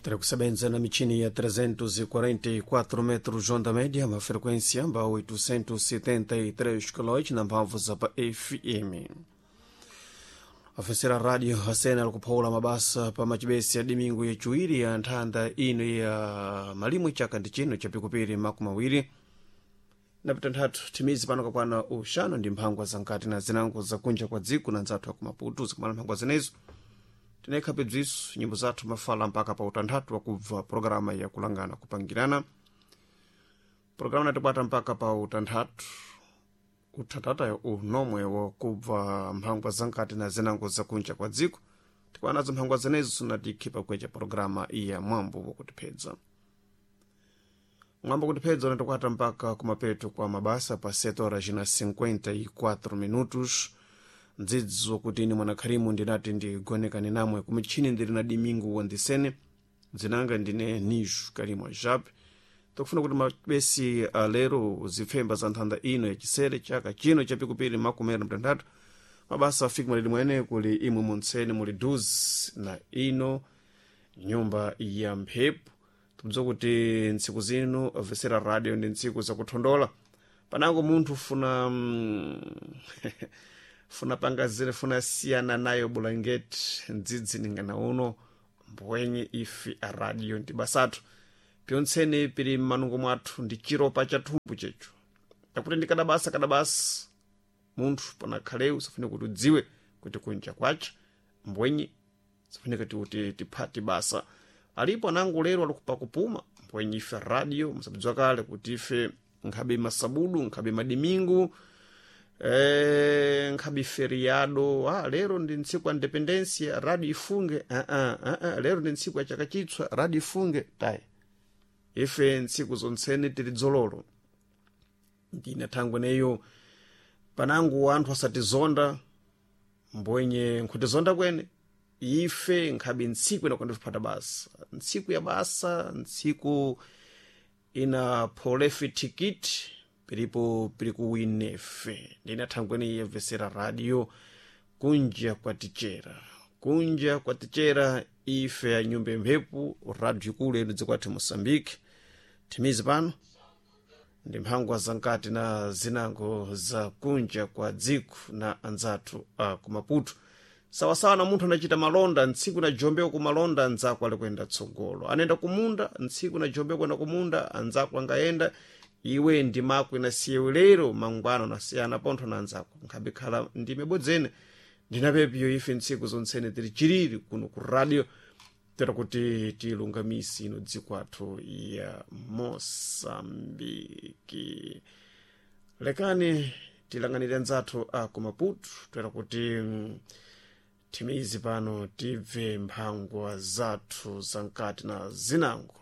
Tiri na michini ya 344 metros onda média, uma frequência ba 873 kHz na mphamvu za pa FM. Afesera radio asena alikuphawula mabasa pa machibesi ya dimingu yaciwiri ya nthanda ino ya malimwe chaka ndi chino cha pikupiri makumi awiri na pitanthatu thimizi pano kakwana uxanu ndi mphangwa zankati na zinango zakunja kwa dziko na nzathu akumaputu zikumala mphangwa zenezo tinayikha bziso nyimbo zathu mafala mpaka pa utanthatu wakubva programa ya kulangana kupangirana programa natibwata mpaka pa utanthatu uthatatayo unomwe wakubva mphangwa zankati na zinango zakunja kwa dziko tikwanazo mphangwa zenezo sinatikhi pakwecha programa iya mwambo wakutiphedza mwambo kutiphedza unatikwata mpaka kumapeto kwa mabasa pa 7 horas na 54 minutos ndzidzo kuti ine mwanakharimu ndinati ndigonekane namwe kumichini ndili na dimingu wandisene dzinanga ndine nishu karimu ajape tokufuna kuti mabesi alero zipfemba za nthanda ino yachisere chaka chino chapikupiri makumi na mtanthatu mabasa afike mwalili mwene kuli imwe muntsene muli duzi na ino nyumba ya mphepo tikudziwa kuti ntsiku zino vesera radio ndi ntsiku zakuthondola panango munthu funa funa pangazire funa siyana nayo bulangeti ndzidzi ningana uno mbwenye ife a radio ndi basathu pyontsene pili mmanungo mwathu ndi chiropa cha thumbu checho takuti ndi kadabasa kadabasa munthu panakhalewu safune kuti udziwe kuti kunja kwacha mbwenye safune kuti tiphati basa alipo anango lero alikupa kupuma mbwenye ife radio musadziwa kale kuti ife nkhabe masabudu nkhabe madimingu nkhabe feriado lero ndi ntsiku ya independencia radio ifunge lero ndi ntsiku ya chaka chitswa radio ifunge tayi ife ntsiku zontsene tili dzololo ndina thangwe neyo panangu anthu asatizonda mbwenye nkhutizonda kwene ife nkhabe ntsiku inakwandifupata basa ntsiku ya basa ntsiku ina pholefe tikiti pilipo pili kuwinefe ndina thangweni yemvesera radio kunja kwatichera kunja kwatichera ife ya nyumba mphepo radio ikulu ino dzikwathu moçambique thimizi pano ndi mphangwa zankati na zinango za kunja kwa dziko na anzathu a kumaputo sawasawa na munthu anachita malonda ntsiku na jombeko kumalonda anzako ali kuyenda tsogolo anayenda kumunda ntsiku na jombeko kuyenda kumunda anzako angayenda iwe ndi mako inasiyewe lero mangwana unasiyana pontho na anzako nkhabikhala ndime bodzene ndinapepiyo ife ntsiku zontsene tili chiriri kuno ku radio tera kuti tilungamise ino dziko athu ya moçambike lekani tilanganire anzathu a kumaputu tera kuti thimizi pano tibve mphangwa zathu zankati na zinango